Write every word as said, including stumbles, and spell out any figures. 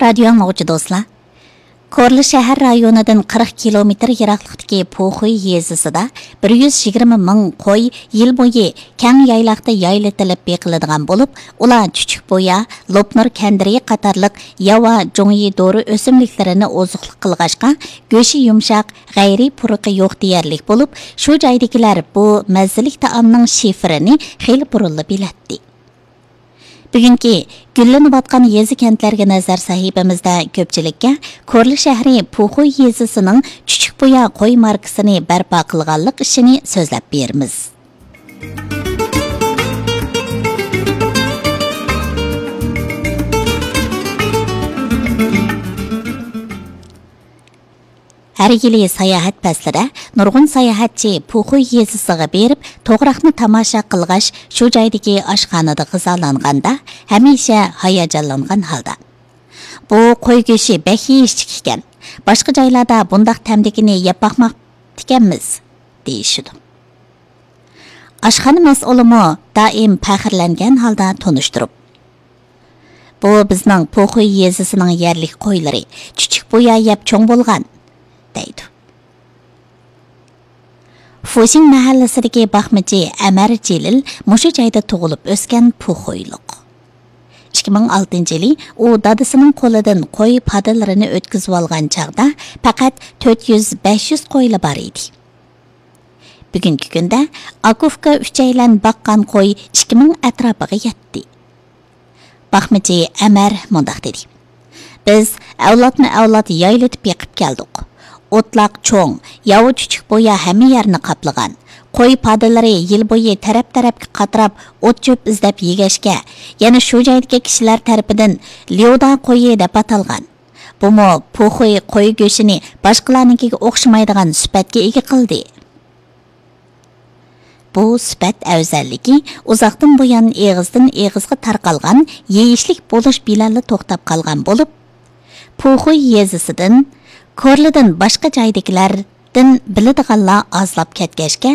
رادىيو ئاڭلىغۇچى دوستلار، كورلا شەھەر رايونىدىن قىرىق كىلومېتىر يىراقلىقتىكى پۇخۇي يېزىسىدا بىر يۈز يىگىرمە مىڭ قوي يىل بويى كەڭ يايلاقتا يايلىتىلىپ بېقىلىدىغان بولۇپ، ئۇلار چۈچۈك بويا، لوپنۇر كەندىرى قاتارلىق ياۋا جۇڭيى دورا ئۆسۈملۈكلىرىنى ئوزۇقلۇق قىلغاچقا، گۆشى يۇمشاق، غەيرىي پۇرىقى يوق دېيەرلىك بولۇپ، شۇ جايدىكىلەر بۇ مەززىلىك تائامنىڭ شىفىرىنى خېلى بۇرۇنلا بىلەتتى. بۈگۈنكى گۈللىنىۋاتقان يېزا-كەنتلەرگە نەزەر سەھىپىمىزدە كۆپچىلىككە كورلا شەھىرى پۇخۇي يېزىسىنىڭ چۈچۈك بويا قوي ماركىسىنى بەرپا قىلغانلىق ئىشىنى سۆزلەپ بېرىمىز. ھەر يىلى ساياھەت پەسلىدە نۇرغۇن ساياھەتچى پۇخۇي يېزىسىغا بېرىپ، توغراقنى تاماشا قىلغاچ، شۇ جايدىكى ئاشخانىدا غىزالانغاندا، ھەمىشە ھاياجانلانغان ھالدا، «بۇ قوي گۆشى بەك يېيىشلىك ئىكەن. باشقا جايلاردا بۇنداق تەمدىكىنى يەپ باقماپتىكەنمىز» دېيىشىدۇ. ئاشخانا مەسئۇلىمۇ دائىم پەخىرلەنگەن ھالدا تونۇشتۇرۇپ، «بۇ بىزنىڭ پۇخۇي يېزىسىنىڭ يەرلىك قويلىرى، چۈچۈك بويا يەپ چوڭ بولغان» دەيدۇ. فۇشىڭ مەھەللىسىدىكى باقمىچى ئەمەر جېلىل مۇشۇ جايدا تۇغۇلۇپ ئۆسكەن پۇخۇيلۇق. ئىككى مىڭ ئالتىنچى يىلى ئۇ دادىسىنىڭ قولىدىن قوي پادىلىرىنى ئۆتكۈزۈۋالغان چاغدا پەقەت تۆت يۈز، بەش يۈز قويلا بار ئىدى. بۈگۈنكى كۈندە ئاكا-ئۇكا ئۈچەيلەن باققان قوي ئىككى مىڭ ئەتراپىغا يەتتى. باقمىچى ئەمەر مۇنداق دېدى: «بىز ئەۋلادمۇ ئەۋلاد يايلىتىپ بېقىپ كەلدۇق. ئوتلاق چوڭ، ياۋا چۈچۈك بويا ھەممە يەرنى قاپلىغان. قوي پادىلىرى يىل بويى تەرەپ-تەرەپكە قاتراپ، ئوت-چۆپ ئىزدەپ يېگەچكە، يەنە شۇ جايدىكى كىشىلەر تەرىپىدىن ليۇدا قويى دەپ ئاتالغان. بۇمۇ پۇخۇي قوي گۆشىنى باشقىلارنىڭكىگە ئوخشىمايدىغان سۈپەتكە ئىگە قىلدى.» بۇ سۈپەت ئەۋزەللىكى ئۇزاقتىن بۇيان ئېغىزدىن ئېغىزغا تارقالغان يېيىشلىك بولۇش بىلەنلا توختاپ قالغان بولۇپ، پۇخۇي يېزىسىدىن، كورلىدىن باشقا جايدىكىلەردىن بىلىدىغانلار ئازلاپ كەتكەچكە،